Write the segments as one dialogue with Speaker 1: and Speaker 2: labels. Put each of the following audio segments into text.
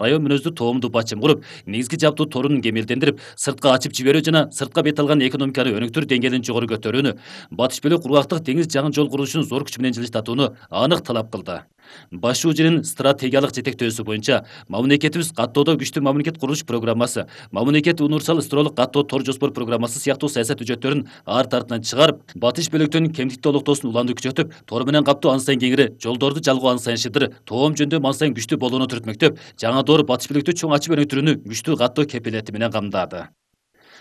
Speaker 1: район мүнөздүү тоомду бачым куруп, негизги жабдуу торун кемелдендирип, сыртка ачып жиберүү жана сыртка бет алган экономиканы өнүктүрүү деңгээлин жогору көтөрүүнү, батыш бөлүк кургактык деңиз жагын жол курулушун зор күч менен жылыштатууну анык талап кылды. Баш шуужинин стратегиялык жетектөөсү боюнча мамлекетибиз каттоодо күчтүү мамлекет курулуш программасы, мамлекет универсал ысырылык каттоо тор жоспор программасы сыяктуу саясат үжөттөрүн арт артынан чыгарып, батыш бөлүктүн кемтиктүү олуктоосун уланды күчөтүп, тор менен каптоо ан сайын кеңири, жолдорду жалгоо ан сайын шыдыр, тоом жөндөмү ан сайын күчтүү болууну түртмөктөп, жаңы доор батыш бөлүктү чоң ачып өнүктүрүүнү күчтүү каттоо кепилети менен камдады.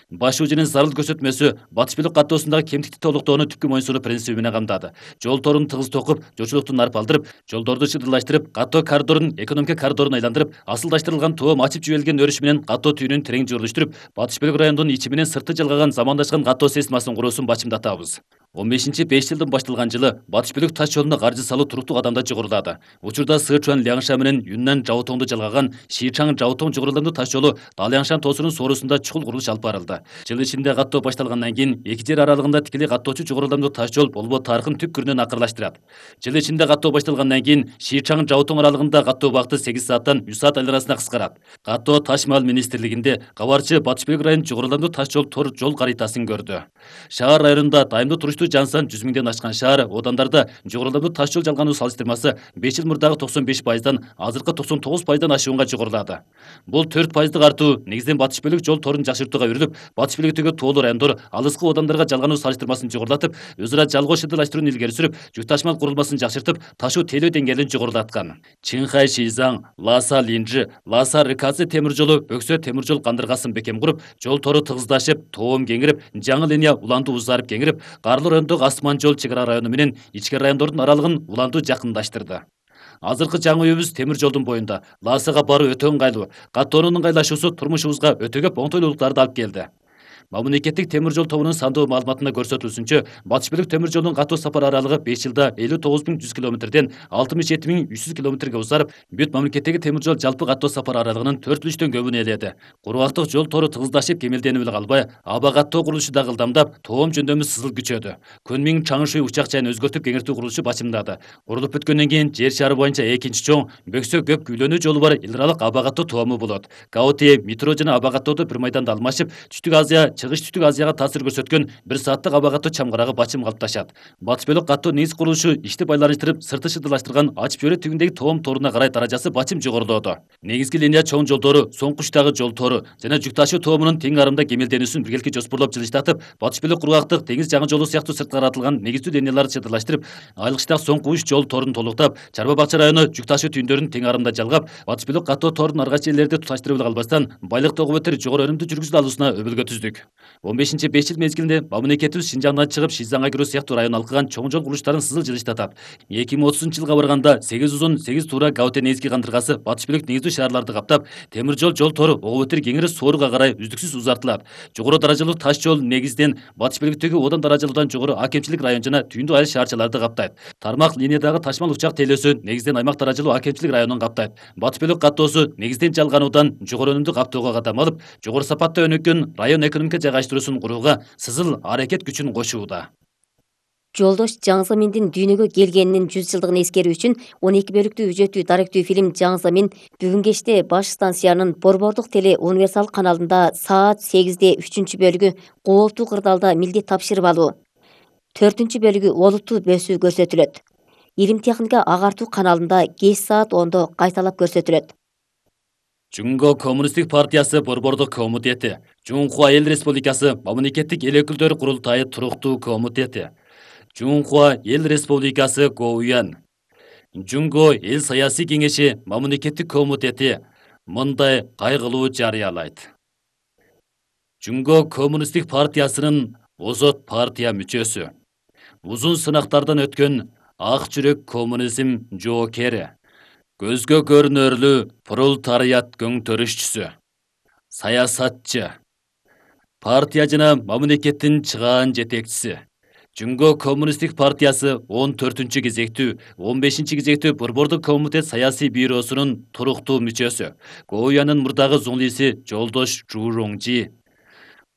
Speaker 1: Баш шуужинин зарыл көрсөтмөсү батыш бөлүк каттоосундагы кемтиктүү толуктоону түпкү моюнсунуу принциби менен камдады. Жол торун тыгыз токуп, жолчулуктун арпалдырып, жолдорду шыдырлаштырып, каттоо коридорун экономика коридорун айландырып, асылдаштырылган тоом ачып жиберилген өрүш менен каттоо түйүнүн терең журулуштуруп, батыш бөлүк райондун ичи менен сырты жалгаган замандашкан каттоо системасынын куруусун бачымдатабыз. 15-5 жылдын башталган жылы батыш бөлүк таш жолуна каржы салуу туруктуу кадамда жогорулады. Учурда Сычуан Ляңша менен Юннан Жаотоңду жалгаган Шичаң Жаотоң жогоруландуу таш жолу Даляңшан тоосунун соорусунда чукул курулуш алып барылды. Жыл ичинде каттоо башталгандан кийин эки жер аралыгында тикелей каттоочу жогоруландуу таш жол болбоо тарыхын түп көрүнөн акырлаштырат. Жыл ичинде каттоо башталгандан кийин Шичаң Жаотоң аралыгында каттоо убакыты 8 сааттан 3 саат айланасына кыскарат. Каттоо таш мал министрлигинде кабарчы батыш бөлүк районунун жогоруландуу таш жол тор жол каритасын көрдү. Шаар районунда дайымдуу туруштуу жан сан 100 миңден ашкан шаар, одандарда жогоруландуу таш жол жалгануу салыштырмасы 5 жыл мурдагы 95%дан азыркы 99%дан ашуунга жогорулады. Бул 4%дык артуу негизден батыш бөлүк жол торун жакшыртууга үрүлүп, батыш бөлүктөгү тоолуу райондор алыскы одандарга жалгануу салыштырмасын жогорулатып, өз ара жалгоо шыдырлаштырууну илгери сүрүп, жүк ташмал курулмасын жакшыртып, ташуу тейлөө деңгээлин жогорулаткан. Чинхай Шизаң, Ласа Линжи, Ласа Рыкадзе темир жолу Өксө темир жол кандыргасын бекем куруп, жол тору тыгыздашып, тоом кеңирип, жаңы линия уланду узарып кеңирип, Карлы райондогу Асман жол чек ара району менен ички райондордун аралыгын уланду жакындаштырды. Азыркы жаңы үйүбүз темир жолдун боюнда. Ласага баруу өтө ыңгайлуу. Каттоонун ыңгайлашуусу турмушубузга өтө көп оңтойлуулуктарды алып келди. Мамлекеттик темир жол тобунун сандуу маалыматында көрсөтүлүшүнчө, батыш бөлүк темир жолунун каттоо сапар аралыгы 5 жылда 59.100 километрден 67.300 километрге узарып, бүт мамлекеттеги темир жол жалпы каттоо сапар аралыгынын 4/3 көбүн ээледи. Кургактык жол тору тыгыздашып кемелденип эле калбай, аба каттоо курулушу да ылдамдап, тоом жөндөмү сызыл күчөдү. Көнмиң Чаңшуй учак жайын өзгөртүп кеңиртүү курулушу бачымдады. Курулуп бүткөндөн кийин жер шары боюнча экинчи чоң Бөксө көп күйлөнүү жолу бар эл аралык аба каттоо тоому болот. Гаути метро жана аба каттоодо бир майданда алмашып, Түштүк Азия чыгыш Түштүк Азияга таасир көрсөткөн 1 сааттык аба каттоо чамгарагы бачым калыпташат. Батыш бөлүк каттоо негиз курулушу ишти байланыштырып, сырты шыдырлаштырган ачып жиберүү тигиндеги тоом торуна карай даражасы бачым жогорулоодо. Негизги линия чоң жолдору, соңку учтагы жол тору жана жүк ташуу тоомунун тең арымда кемелденүүсүн биргеликте жоспорлоп жылыштатып, батыш бөлүк кургактык деңиз жаңы жолу сыяктуу сырткы каратылган негиздүү линияларды чыдырлаштырып, айлык соңку уч жол торун толуктап, Чарба Бакча району жүк ташуу түйүндөрүн тең арымда жалгап, батыш бөлүк каттоо торунун аргач жерлерди туташтырып эле калбастан, байлык тогу жогору өнүмдүү жүргүзүлө алуусуна өбөлгө түздүк. 15-5 жыл мезгилинде мамлекетибиз Шинжаңдан чыгып Шизаңга кирүү сыяктуу район алкыган чоң жол курулуштарын сызыл жылыштатат. 2030-жылга барганда 8 узун 8 туура Гаути негизги кандыргасы батыш бөлүк негиздүү шаарларды каптап, темир жол тору ого бетер кеңири Сооруга карай үздүксүз узартылат. Жогору даражалуу таш жол негизден батыш бөлүктөгү одан даражалуудан жогору акемчилик район жана түйүндүү айыл шаарчаларды каптайт. Тармак линиядагы ташмал учак тейлөөсү негизден аймак даражалуу акемчилик районун каптайт. Батыш бөлүк каттоосу негизден жалгануудан жогору өнүмдүү каптоого кадам алып, жогору сапатта өнүккөн район экономика жайгаштыруусун курууга сызыл аракет күчүн кошууда.
Speaker 2: Жолдош Жаңзаминдин дүйнөгө келгенинин 100 жылдыгын эскерүү үчүн 12 бөлүктүү үжөттүү даректүү фильм Жаңзамин бүгүн кечте баш станциянын Борбордук теле универсал каналында саат 8-де 3 бөлүгү Кооптуу кырдаалда милдет тапшырып алуу, 4 бөлүгү Олуттуу бөсүү көрсөтүлөт. Илим техника агартуу каналында кеч саат 10-до кайталап көрсөтүлөт.
Speaker 1: Жунго Коммунисттик партиясы Борбордук комитети, Жунхуа Эл Республикасы мамлекеттик эл өкүлдөр курултайы туруктуу комитети, Жунхуа Эл Республикасы Гоуян, Жунго Эл саясий кеңеши мамлекеттик комитети мындай кайгылуу жарыялайт. Жунго Коммунисттик партиясынын озот партия мүчөсү, узун сынактардан өткөн ак жүрөк коммунизм жоокери, көзгө көрүнөрлүү пролетариат көңтөрүшчүсү, саясатчы, партия жана мамлекеттин чыгаан жетекчиси, Жунго Коммунисттик партиясы 14-кезектүү, 15-кезектүү Борбордук комитет саясий бюросунун туруктуу мүчөсү, Гоуянын мурдагы зуңлиси Жолдош Журоңжи,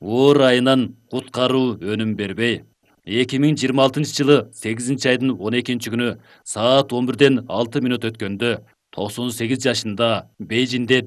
Speaker 1: оор айынан куткаруу өнүм бербей, 2026-жылы 8-айдын 12-күнү саат 11-ден 6 мүнөт өткөндө 98 жашында Бейжиңде